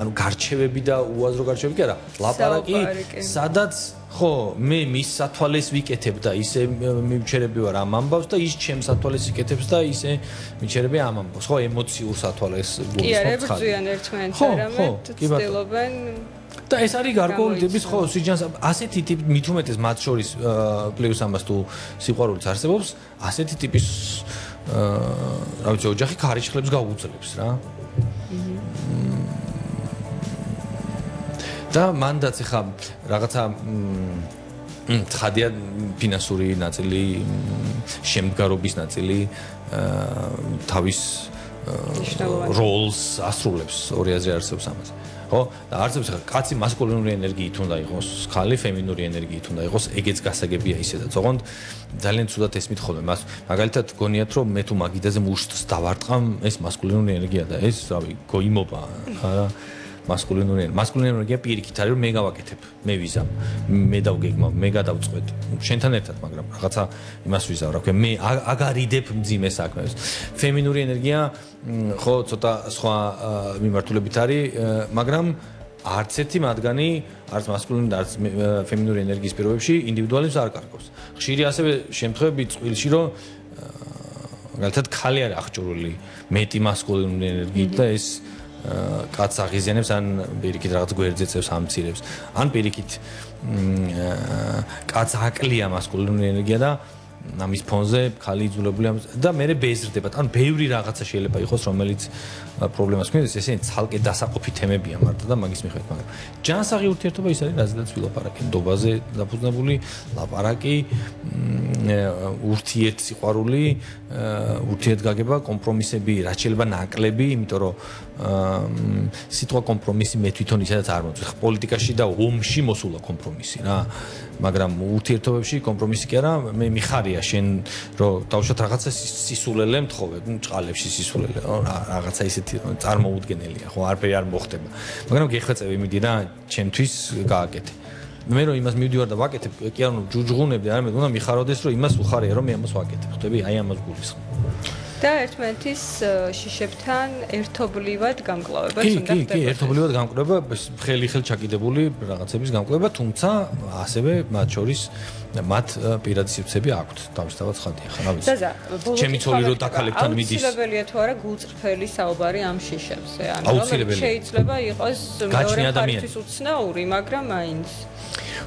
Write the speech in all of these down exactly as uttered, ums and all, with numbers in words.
ანუ გარჩევები და უაზრო გარჩევები კი არა, ლაპარაკი, სადაც ხო, მე მის სათვალეს ვიკეთებ და ისე მივჩერები ვარ ამ ამბავს და ის ჩემს სათვალეს იკეთებს და ისე მივჩერები ამ ამბავს. ხო, ემოციურ სათვალეს გულისხმობ. კი, არა, ბრძვიან ერთმანეთს, არამედ ცდილობენ და ეს არის გარკვეული ტიპის ხო, სიჯანს ასეთი ტიპი მით უმეტეს მათ შორის პლუს ამას თუ სიყვარულიც არსებობს, ასეთი ტიპის აა, რა ვიცი, ოჯახი ქარიშხლებს გაუძლებს რა. და მანდაც ახლა რაღაცა ცხადია ფინანსური ნაწილი, შემდგარობის ნაწილი თავის როლს ასრულებს ორი აზრი არსებობს ამაზე. ხო? და არსებობს ახლა კაცი მასკულინური ენერგიით უნდა იყოს, ხალი ფემინური ენერგიით უნდა იყოს, ეგეც გასაგებია ისედაც. ოღონდ ძალიან ცუდად ესმით ხოლმე მას. მაგალითად გონიათ რომ მე თუ მაგიდაზე მუშტს დავარტყამ, ეს მასკულინური ენერგია და ეს, რავი, გოიმობა, არა მასკულინური ენერგია. მასკულინური ენერგია პირიქით არის რომ მე გავაკეთებ, მე ვიზამ, მე დავგეგმავ, მე გადავწყვეტ. შენთან ერთად, მაგრამ რაღაცა იმას ვიზავ, რა ქვია, მე აგარიდებ მძიმე საქმეს. ფემინური ენერგია ხო ცოტა სხვა მიმართულებით არის, მაგრამ არც ერთი მათგანი, არც მასკულინური და არც ფემინური ენერგიის პირობებში ინდივიდუალიზმს არ კარგავს. ხშირი ასევე შემთხვევები წყვილში რომ მაგალითად ქალი არის აღჭურვილი მეტი მასკულინური ენერგიით და ეს კაც აღიზიანებს ან პირიქით რაღაც გვერდზე წევს ამცირებს ან პირიქით კაც აკლია მასკულინური ენერგია და ამის ფონზე ქალი იძულებულია და მე ბეზრდება ან ბევრი რაღაცა შეიძლება იყოს რომელიც პრობლემას ქმნის ესენი ცალკე დასაყოფი თემებია მარტო და მაგის მიხედვით მაგრამ ჯანსაღი ურთიერთობა ის არის რაზედაც ვილაპარაკე ნდობაზე დაფუძნებული ლაპარაკი ურთიერთ სიყვარული ურთიერთგაგება კომპრომისები რაც შეიძლება ნაკლები იმიტომ რომ სიტყვა კომპრომისი მე თვითონ ისედაც არ მოწყვეტ პოლიტიკაში და ომში მოსულა კომპრომისი რა მაგრამ ურთიერთობებში კომპრომისი კი არა მე მიხარია შენ რომ დავუშვათ რაღაცა სისულელე მთხოვე ჭყალებში სისულელე რაღაცა ისეთი წარმოუდგენელია ხო არაფერი არ მოხდება მაგრამ გეხვეწები მიდი რა ჩემთვის გააკეთე მე რომ იმას მივდივარ და ვაკეთებ კი არ უნდა ჯუჯღუნებდი არამედ უნდა მიხაროდეს რომ იმას უხარია რომ მე ამას ვაკეთებ ხვდები აი ამას გულისხმობ და ერთმანეთის შიშებთან ერთობლივად გამკლავებას უნდა ხდება. კი, კი, ერთობლივად გამკლავება, ხელი ხელ ჩაკიდებული რაღაცების გამკლავება, თუმცა ასევე მათ შორის მათ პირადი სივრცეები აქვთ, თავისთავად ცხადია, ხო, რა ვიცი. ჩემი ცოლი რო დაქალებთან მიდის. აუცილებელია თუ არა გულწრფელი საუბარი ამ შიშებზე, ანუ შეიძლება იყოს მეორე მხარისთვის უცნაური, მაგრამ მაინც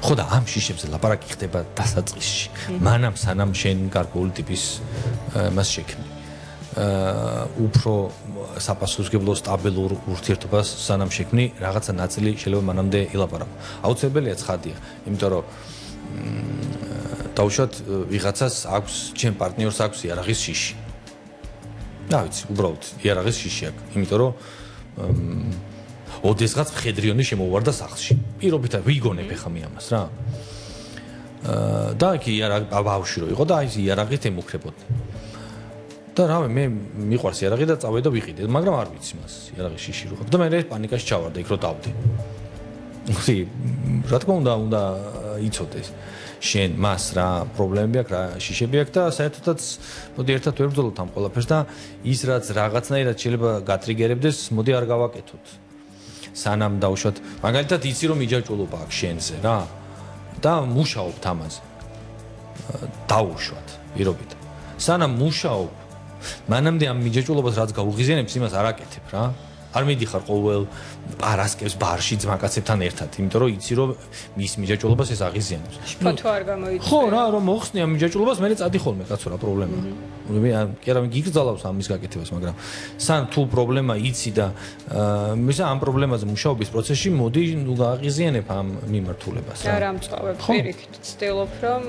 ხო და ამ შიშებზე ლაპარაკი ხდება დასაწყისში. მანამ სანამ შენ გარკვეული ტიპის მას შექმნი. უფრო საპასუხისმგებლო სტაბილურ ურთიერთობას სანამ შექმნი რაღაცა ნაწილი შეიძლება მანამდე ილაპარაკო. აუცილებელია ცხადია, იმიტომ რომ დავუშვათ ვიღაცას აქვს ჩემ პარტნიორს აქვს იარაღის შიში. რა ვიცი, უბრალოდ იარაღის შიში აქვს, იმიტომ რომ ოდესღაც მხედრიონი შემოვარდა სახლში. პირობითად ვიგონებ ხა მე ამას რა. და კი იარაღი ბავშვი რო იყო და აი იარაღით ემუქრებოდი. და რავი მე მიყვარს იარაღი და წავედი და ვიყიდე, მაგრამ არ ვიცი მას იარაღის შიში რო ხარ. და მე პანიკაში ჩავარდა იქ რო დავდე. ხი, რა თქმა უნდა, უნდა იცოდეს. შენ მას რა პრობლემები აქვს, რა შიშები აქვს და საერთოდაც მოდი ერთად ვერ ვბრძოლოთ ამ ყველაფერს და ის რაც რაღაცნაირად შეიძლება გატრიგერებდეს, მოდი არ გავაკეთოთ. სანამ დავუშვათ, მაგალითად იცი რომ იჯაჭულობა აქვს შენზე რა და მუშაობთ ამაზე. დავუშვათ, პირობით. სანამ მუშაობ მანამდე ამ მიჯაჭულობას რაც გაუღიზიანებს იმას არ აკეთებ რა არ მიდიხარ ყოველ პარასკევს ბარში ძმაკაცებთან ერთად იმიტომ რომ იცი რომ მის მიჯაჭულობას ეს აღიზიანებს შფოთვა არ გამოიწვია ხო რა რომ მოხსნი ამ მიჯაჭულობას მე წადი ხოლმე კაცო რა პრობლემაა მე კი არა გიგრძალავს ამის გაკეთებას მაგრამ სან თუ პრობლემა იცი და მისა ამ პრობლემაზე მუშაობის პროცესში მოდი ნუ გააღიზიანებ ამ მიმართულებას რა რა მწვავებ პირიქით ცდილობ რომ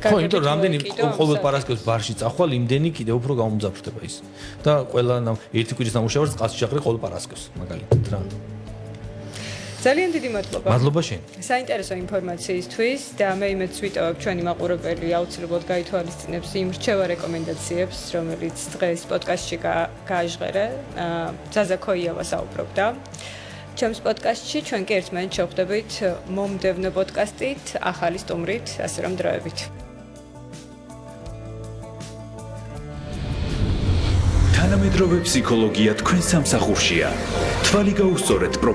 ხო, იმიტომ რამდენი ყოველ პარასკევს ბარში წახვალ, იმდენი კიდე უფრო გამომძაფრდება ის. და ყველა ერთი კვირის ნამუშევარს წყალში ჩაყრე ყოველ პარასკევს, მაგალითად რა. ძალიან დიდი მადლობა. მადლობა შენ. საინტერესო ინფორმაციისთვის და მე იმედს ვიტოვებ ჩვენი მაყურებელი აუცილებლად გაითვალისწინებს იმ რჩევა რეკომენდაციებს, რომელიც დღეს პოდკასტში გააჟღერე. ზაზა ქოიავა საუბრობდა. ჩემს პოდკასტში ჩვენ კი ერთმანეთს შევხვდებით მომდევნო პოდკასტით, ახალი სტუმრით, ასე რომ დროებით. თანამედროვე თანამედროვე ფსიქოლოგია თქვენ სამსახურშია. თვალი გაუსწორეთ